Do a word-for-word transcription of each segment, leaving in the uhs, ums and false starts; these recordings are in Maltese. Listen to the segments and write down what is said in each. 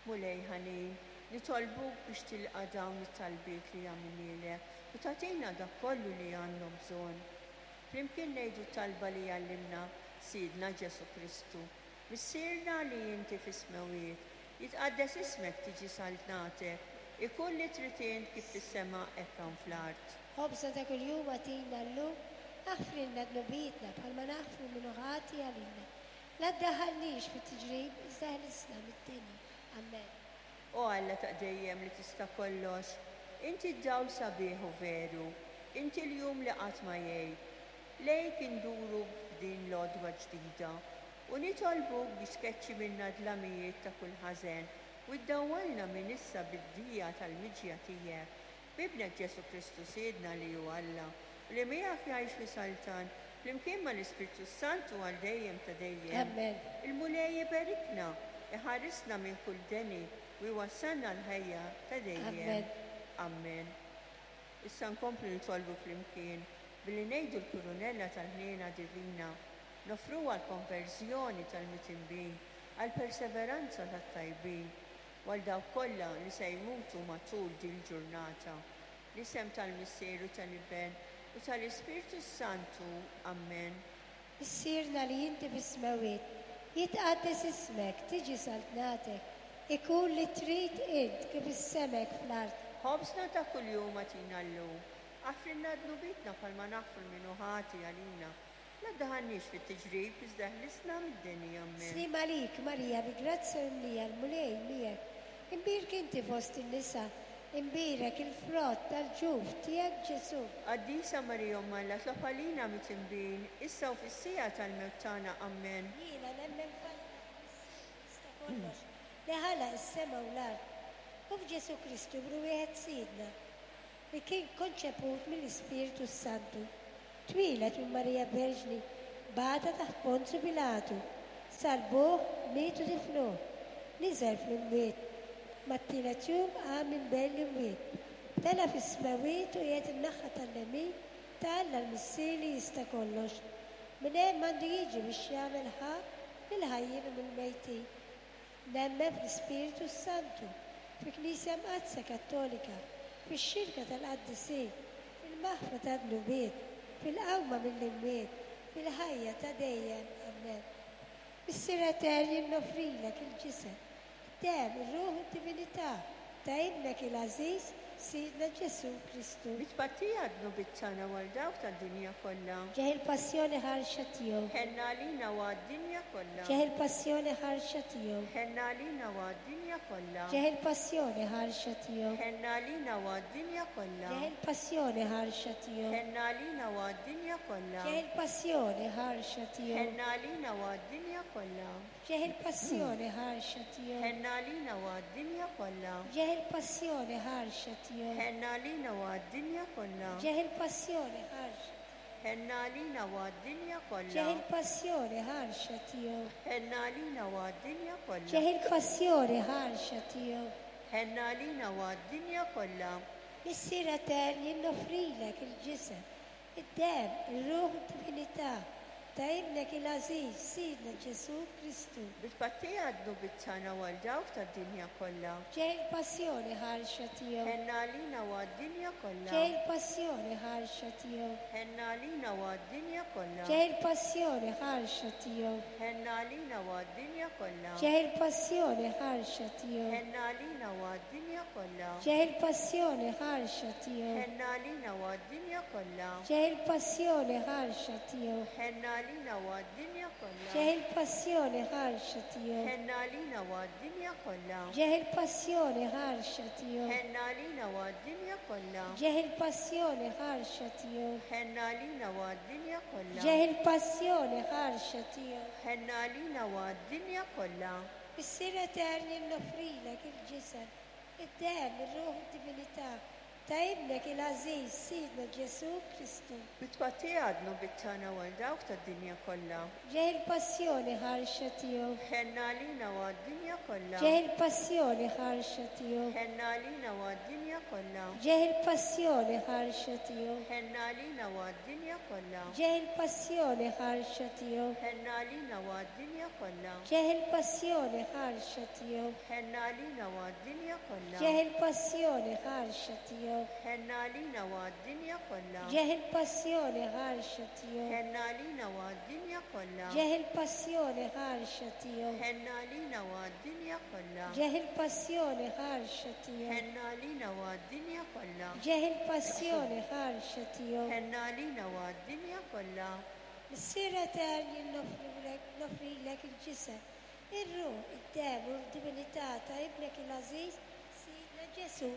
Mulej ħanin, nitolbuk biex tilqa' dawn it-talbiet li għamilnielek u tagħtina dak kollu li għandhom bżonn. Flimkien ngħidu talba li għallimna Sidna Ġesù Kristu. Missierna li inti fis-smewwiet, jitqaddes ismek, tiġi saltnatek, ikun li trid int kif fis-sema hekk hawn fl-art. Ħobżna ta' kuljum agħtina llum, aħfrilna dnubietna bħalma naħfru min hu ħati għalina. La ddaħħalniex fit-tiġrib, iżda ħlisna mid-deni. Amen. O Alla ta' dejjem li tista' kollox, inti d-dawl sabiħ u veru, inti l-jum li qatt ma jgħib. Lejk induru f'din l-għodwa ġdida u nitolbuk biex tkeċċi minna dlamijiet ta' kull ħażen u ddawwalna minn issa bid-dija tal-miġja tiegħek. B'Ibnek Ġesù Kristu Sidna li hu Alla u li miegħek jgħix u jsaltan flimkien mal-Ispirtu Santu għal dejjem ta' dejjem. Amen. Il-Mulej iberikna, iħarisna minn kull deni u jwassalna l-ħajja ta' dejjem. Amen. Amen. Issa nkomplu nitolbu flimkien billi ngħidu l-kurunella tal-ħniena divina, noffruha għall-konverżjoni tal-midinbin, għall-perseveranza tat-tajbin, u għal dawk kollha li se jmutu matul din ġurnata. L-isem tal-Missier u tal-Iben u tal-Ispirtu Santu. Amen. Missierna li inti fis-smewwiet, jitqaddes ismek, tiġi saltnatek, ikun li trid int kif fis-sema hekk fl-art. Ħobżna ta' kuljum agħtina llum, aħfrilna dnubietna bħalma naħfru min hu ħati għalina. La ddaħħalniex fit-tiġrib, iżda ħlisna mid-deni. Amen. Sliem għalik, Marija, bi grazzja mimlija, l-Mulej miegħek. Imbierka inti fost in-nisa, imbierek il-frott tal-ġuf tiegħek Ġesù. Qaddisa Marija Omm Alla, itlob għalina midinbin, issa u fis-siegħa tal-mewt tagħna. Amen. Jiena nemmen f'Alla, jista' kollox, li ħalaq is-sema u l-art, u f'Ġesù Kristu Ibnu wieħed Sidna, li kien konċeput mill-Ispirtu Santu, twieled minn Marija Verġni, bata taħt Ponzu Pilatu, salbuh, miet u difnuh, niżel fl-imwiet, mat-tielet jum qam minn bejn l-imwiet, tela' fis-smewwiet u qiegħed in-naħa tal-lemin ta' Alla l-Missier li jista' kollox. Minn hemm għandu jiġi biex jagħmel ħakma lill-ħajjin u mill-mejtin. Nemmen fl-Ispirtu Santu, fil-Knisja Mqaddsa Kattolika, fix-xirka tal-qaddisin, fil-maħfra tad-dnubiet, fil-qawma mill-imwiet, fil-ħajja ta' dejjem. Amen. Missier Etern, jien noffrilek il-ġisem, id-demm, ir-ruħ u d-divinità ta' Ibnek il-Għażiż, Sidna Ġesù Kristu. Bi tpattija għad-dnubiet tagħna u għal dawk tad-dinja kollha. Ġieħ il-passjoni ħarxa tiegħu. Ħenn għalina u għad-dinja kollha. Ġieħ il-passjoni ħarxa tiegħu. Ħenn għalina u għad-dinja kollha. Ġieħ il-passjoni ħarxa tiegħu. Ħenn għalina u għad-dinja kollha. Ġieħ il-passjoni ħarxa tiegħu. Ħenn għalina u għad-dinja kollha. Ġieħ il-passjoni ħarxa tiegħu. Ħenn għalina u għad-dinja kollha. Ġieħ il-passjoni ħarxa tiegħu. Ħenn għalina u għad-dinja kollha. Ġieħ il-passjoni ħarxa tiegħu. Ħenn għalina u għad-dinja kollha. Ġieħ il-passjoni ħarxa. Ħenn għalina u għad-dinja kollha. Ġieħ il-passjoni ħarxa tiegħu. Ħenn għalina u għad-dinja kollha. Ġieħ il-passjoni ħarxa tiegħu. Ħenn għalina u għad-dinja kollha. Missier Etern, jien noffrilek il-ġisem, id-demm, ir-ruħ u d-divinità ta' Ibnek il-Għażiż, Sidna Ġesù Kristu. Bi tpattija għad-dnubiet tagħna u għal dawk tad-dinja kollha. Ġieħ il-passjoni ħarxa tiegħu. Ħenn għalina u għad-dinja kollha. Ġieħ il-passjoni ħarxa tiegħu. Ħenn għalina u għad-dinja kollha. Ġieħ il-passjoni ħarxa tiegħu. Ħenn għalina u għad-dinja kollha. Ġieħ il-passjoni ħarxa tiegħu. Ħenn għalina u għad-dinja kollha. Ġieħ il-passjoni ħarxa tiegħu. Ħenn għalina u għad-dinja kollha. Ġieħ il-passjoni ħarxa tiegħu. Ħenn għalina u għad-dinja kollha. Ġieħ il-passjoni ħarxa tiegħu. Ħenn għalina u għad-dinja kollha. Ġieħ il-passjoni ħarxa tiegħu. Ħenn għalina u għad-dinja kollha. Ġieħ il-passjoni ħarxa tiegħu. Ħenn għalina u għad-dinja kollha. Ġieħ il-passjoni ħarxa tiegħu. Ħenn għalina u għad-dinja kollha. Missier Etern, jien noffrilek il-ġisem, id-demm, ir-ruħ u d-divinità Ta' ibnek il-għażiż Sidna Ġesù Kristu. Bit-tpattija għad-dnubiet tagħna u għal dawk tad-dinja kollha. Ġieħ il-passjoni ħarxa tiegħu. Ħenn għalina u għad-dinja kollha. Ġieħ il-passjoni ħarxa tiegħu. Ħenn għalina u għad-dinja kollha. Ġieħ il-passjoni ħarxa tiegħu. Ħenn għalina u għad-dinja kollha. Ġieħ il-passjoni ħarxa tiegħu. Ħenn għalina u għad-dinja kollha. Ġieħ il-passjoni ħarxa tiegħu. Ħenn għalina u għad-dinja kollha. Ġieħ il-passjoni ħarxa tiegħu. Ħenn għalina u għad-dinja kollha. Ġieħ il-passjoni ħarxa tiegħu. Ħenn għalina u għad-dinja kollha. Ġieħ il-passjoni ħarxa tiegħu. Ħenn għalina u għad-dinja kollha. Ġieħ il-passjoni ħarxa tiegħu. Ħenn għalina u għad-dinja kollha. Ġieħ il-passjoni ħarxa tiegħu. Ħenn għalina u għad-dinja kollha. Missier etern, jien noffrilek il-ġisem, ir-ruħ, id-demm u d-divinità ta' ibnek il-għażiż Sidna Ġesù.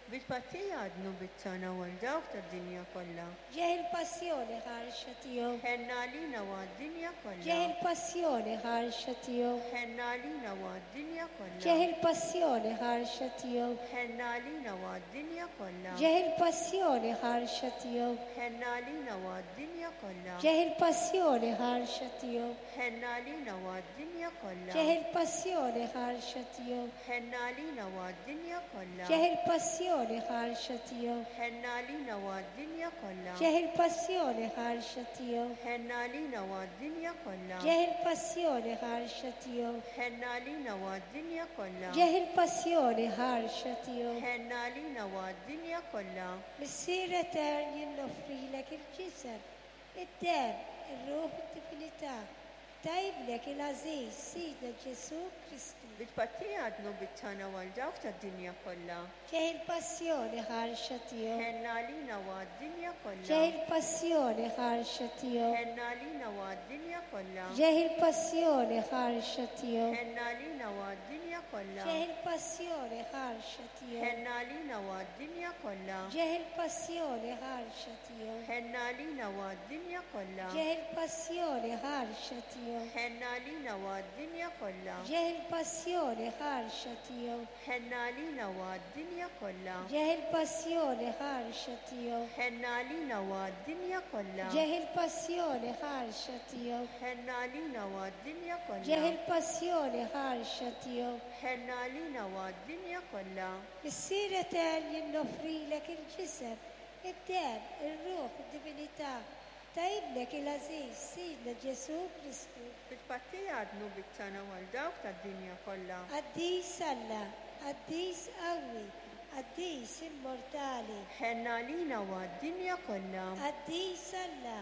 Bit-tpattija għad-dnubiet tagħna u għal dawk tad-dinja kollha. Ġieħ il-passjoni ħarxa tiegħu. Ħenn għalina u għad-dinja kollha. Ġieħ il-passjoni ħarxa tiegħu. Ħenn għalina u għad-dinja kollha. Ġieħ il-passjoni ħarxa tiegħu. Ħenn għalina u għad-dinja kollha. Ġieħ il-passjoni ħarxa tiegħu. Ħenn għalina u għad-dinja kollha. Ġieħ il-passjoni ħarxa tiegħu. Ħenn għalina u għad-dinja kollha. Ġieħ il-passjoni ħarxa tiegħu. Ħenn għalina u għad-dinja kollha. Ġieħ il-passjoni ħarxa tiegħu. Ħenn għalina u għad-dinja kollha. Ġieħ il-passjoni ħarxa tiegħu. Ħenn għalina u għad-dinja kollha. Ġieħ il-passjoni ħarxa tiegħu. Ħenn għalina u għad-dinja kollha. Ġieħ il-passjoni ħarxa tiegħu. Ħenn għalina u għad-dinja kollha. Missier etern, jien noffrilek il-ġisem, id-demm, ir-ruħ u d-divinità ta' ibnek il-għażiż Sidna Ġesù Kristu. Bit-tpattija għad-dnubiet tagħna u għal dawk tad-dinja kollha. Ġieħ il-passjoni ħarxa tiegħu. Ħenn għalina u għad-dinja kollha. Ġieħ il-passjoni ħarxa tiegħu. Ħenn għalina u għad-dinja kollha. Ġieħ il-passjoni ħarxa tiegħu. Ħenn għalina u għad-dinja kollha. Ġieħ il-passjoni ħarxa tiegħu. Ħenn għalina u għad-dinja kollha. Ġieħ il-passjoni ħarxa tiegħu. Ħenn għalina u għad-dinja kollha. Ġieħ il-passjoni ħarxa tiegħu. Ħenn għalina u għad-dinja kollha. Ġieħ il-passjoni ħarxa tiegħu. Ħenn għalina u għad-dinja kollha. Ġieħ il-passjoni ħarxa tiegħu. Ħenn għalina u għad-dinja kollha. Ġieħ il-passjoni ħarxa tiegħu. Ħenn għalina u għad-dinja kollha. Ġieħ il-passjoni ħarxa tiegħu. Ħenn għalina u għad-dinja kollha. Missier etern, jien noffrilek il-ġisem, id-demm, ir-ruħ, id-divinità ta' ibnek il-għażiż Sidna Ġesù Kristu. Bit-tpattija għad-dnubiet tagħna u għal dawk tad-dinja kollha. Qaddis Alla, qaddis qawwi, qaddis immortali. Ħenn għalina u għad-dinja kollha. Qaddis Alla,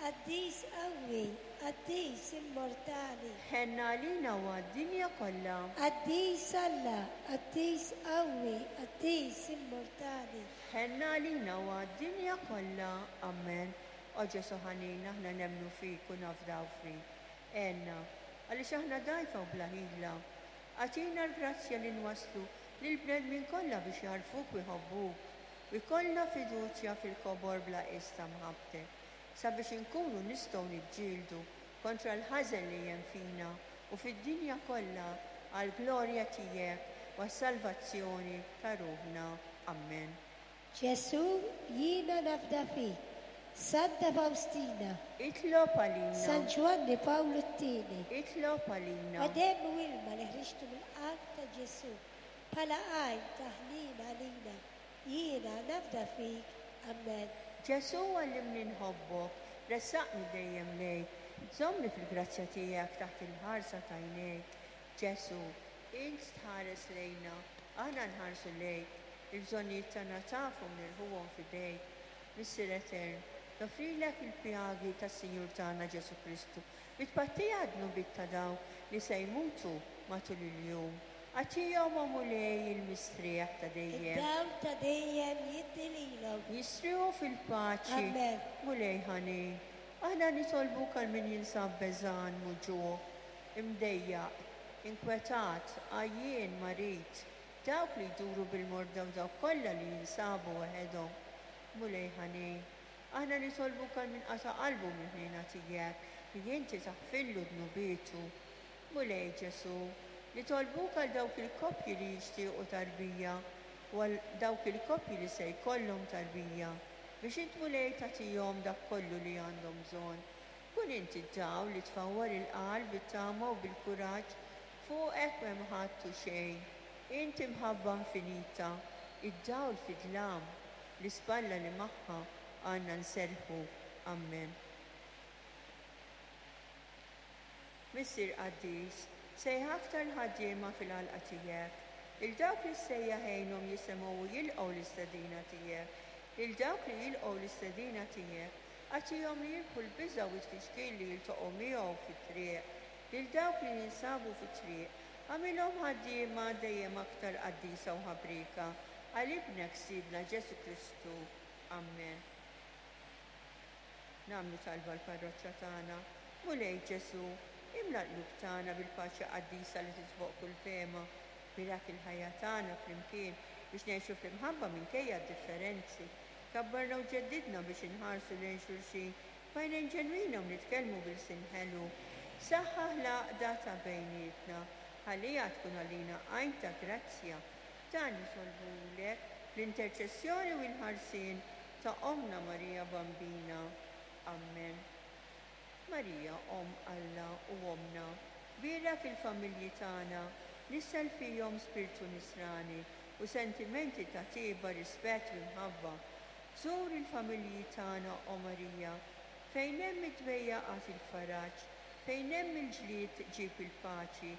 qaddis qawwi, qaddis immortali. Ħenn għalina u għad-dinja kollha. Qaddis Alla, qaddis qawwi, qaddis immortali. Ħenn għalina u għad-dinja kollha. Amen. O Ġesù ħanin, aħna nemmnu fik u nafdaw fik. Għinna, għaliex aħna dgħajfa u bla ħila. Agħtina l-grazzja li nwaslu lill-bnedmin kollha biex jagħrfuk u jħobbuk u jkollna fiduċja fil-kobor bla qies ta' mħabbtek, sabiex inkunu nistgħu niġġieldu kontra l-ħażen li hemm fina u fid-dinja kollha għall-glorja tiegħek u għas-salvazzjoni ta' ruħna. Amen. Ġesù, jiena nafda fik. Santa Faustina, Itlob għalina. San Ġwanni Pawlu t-tieni, Itlob għalina. O demm u ilma li ħriġtu mill-qalb ta' Ġesù bħala għajn ta' ħniena għalina, jiena nafda fik. Amen. Ġesù, għallimni nħobbok, ressaqni dejjem lejk, żommni fil-grazzja tiegħek taħt il-ħarsa ta' għajnejk. Ġesù, int tħares lejna, aħna nħarsu lejk, il-bżonnijiet tagħna tafhom nirħuhom f'idejk. Missier etern, noffrilek il-pjagi tas-Sinjur tagħna Ġesù Kristu, bit-tpattija għad-dnubiet ta' dawk li se jmutu matul il-jum. Agħtihom, o Mulej, il-mistrieħ ta' dejjem. Id-dawl ta' dejjem jiddi lilhom. Jistrieħu fil-paċi. Amen. Mulej ħanin, aħna nitolbuk għal min jinsab beżan, muġugħ, imdejjaq, inkwetat, għajjien, marid, dawk li jduru bil-morda u dawk kollha li jinsabu waħedhom. Mulej ħanin, aħna nitolbuk għal min qata' qalbu mill-ħniena tiegħek li inti taħfillu dnubietu. Mulej Ġesù, nitolbuk għal dawk il-koppji li jixtiequ tarbija. u għal dawk il-koppji li se jkollhom tarbija, biex int, Mulej, tagħtihom dak kollu li għandhom bżonn. Kun inti d-dawl li tfawwar il-qalb bit-tama u bil-kuraġġ, fuqek m'hemm ħadd u xejn. Inti mħabba infinita, id-dawl fid-dlam, l-ispalla li magħha għandna nserrħu. Amen. Missier qaddis, sejjaħ aktar ħaddiema fil-għalqa tiegħek. Lil dawk li ssejjaħ għinhom jisimgħu u jilqgħu l-istedina tiegħek. Lil dawk li jilqgħu l-istedina tiegħek, agħtihom li jirbħu l-biża' u t-tfixkil li jiltaqgħu miegħu fit-triq. Lil dawk li jinsabu fit-triq, agħmilhom ħaddiema dejjem aktar qaddisa u ħabrieka. Għal ibnek Sidna Ġesù Kristu. Amen. Nagħmlu talba l-parroċċa tagħna. Mulej Ġesù, imla l-qlub tagħna bil-paċi qaddisa li tisboq kull fehma. Bierak il-ħajja tagħna flimkien biex ngħixu fl-imħabba minkejja d-differenzi. Kabbarna u ġeddidna biex inħarsu lejn xulxin b'għajnejn ġenwina u nitkellmu bil-sin ħelu. Saħħaħ l-għaqda ta' bejnietna, ħalliha tkun għalina għajn ta' grazzja. Dan nitolbulek l-interċessjoni u l-ħarsien ta' Ommna Marija Bambina. Amen. Marija, Omm Alla u Ommna, bierak il-familji tagħna, nissel fihom spiritu nisrani u sentimenti ta' tiba, rispett u mħabba. Żur il-familji tagħna, o Marija, fejn hemm id-dwejjaq agħti l-faraġ, fejn hemm il-ġlied ġib il-paċi,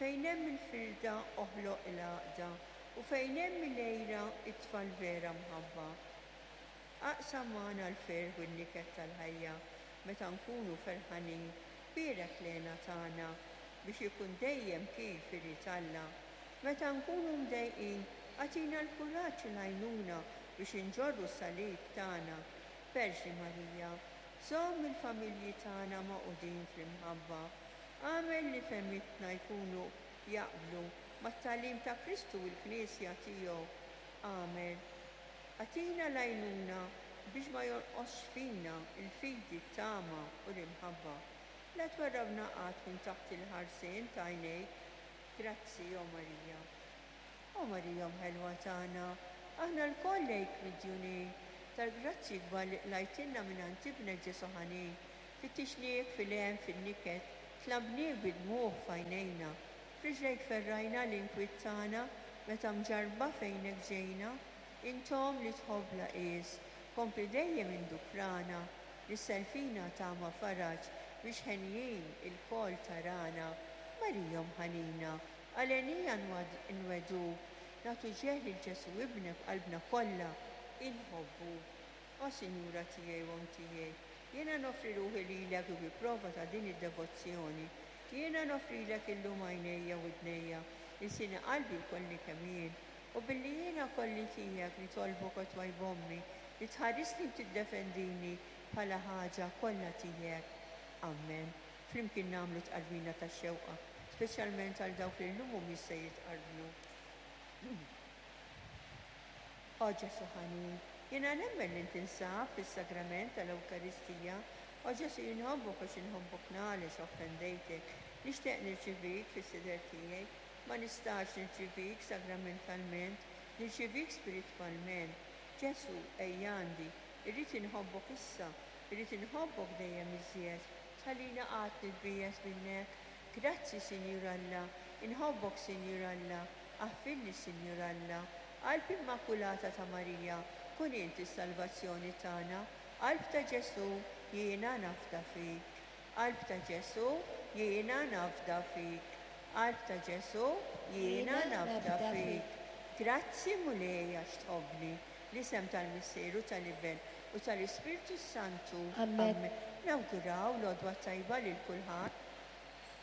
fejn hemm il-firda oħloq il-għaqda, u fejn hemm il-għira itfa' l-vera mħabba. Aqsam magħna l-ferħ u n-niket tal-ħajja meta nkunu ferħanin, bierek l-hena tagħna biex ikun dejjem kif irid Alla. Meta nkunu mdejqin, agħtina l-kuraġġ u l-għajnuna biex inġorru s-salib tagħna. Verġni Marija, żomm il-familji tagħna magħqudin fl-imħabba. Agħmel li fehmitna jkunu jaqblu mat-tagħlim ta' Kristu u l-Knisja tiegħu. Amen. Agħtina l-għajnuna biex ma jonqosx fina il-fidi, t-tama u l-imħabba. La twarrabna qatt minn taħt il-ħarsien ta' għajnejk. Grazzi, o Marija. O Marija mħelwa tagħna, aħna lkoll lejk midjunin tal-grazzi kbar li qlajtilna minn għand ibnek Ġesù ħanin. Fittixniek fil-hemm fin-niket, tlabniek bid-dmugħ f'għajnejna. F'riġlejk ferrajna l-inkwiet tagħna meta mġarrba fejnek ġejna. Intom li tħobb la qies, kompli dejjem indukrana, nissel fina tama faraġ biex ħenjin ilkoll tarana. Marija mħanina, għalenija nweduk, nagħtu ġieħ lil Ġesù ibnek b'qalbna kollha, inħobbu. O Sinjura tiegħi u Omm tiegħi, jiena noffri ruħi lilek bi prova ta' din id-devozzjoni. Jiena noffrilek illum għajnejja u widnejja, ilsieni, qalbi u kolli kemm jien. U billi jiena kolli tiegħek nitolbok o twajb ommi li tħarisni u tiddefendini bħala ħaġa kollha tiegħek. Amen. Flimkien nagħmlu tqarbina tax-xewqa, speċjalment għal dawk li llum mhumiex se jitqarbnu. O Ġesù ħanin, jiena nemmen li tinsab fis-sagrament tal-Ewkaristija. O Ġesù inħobbok għax inħobbok għaliex offendejtek. Nixtieq nirċivik fis-sider tiegħi, ma nistax nirċivik sagramentalment, nirċivik spiritwalment. Ġesù, ejja għandi, irrid inħobbok issa, irrid inħobbok dejjem iżjed. Tħallina qatt nitbiegħed minnek. Grazzi, Sinjur Alla, inħobbok, Sinjur Alla, aħfirli, Sinjur Alla. Qalb Immakulata ta' Marija, kun inti s-salvazzjoni tagħna. Qalb ta' Ġesù, jiena nafda fik. Qalb ta' Ġesù, jiena nafda fik. Qalb ta' Ġesù, jiena nafda fik. Grazzi Mulej għax tħobbni. L-isem tal-Missieru, tal-Iben u tal-Ispirtu Santu. Amen. Nawguraw l-għodwa tajba lil kulħadd.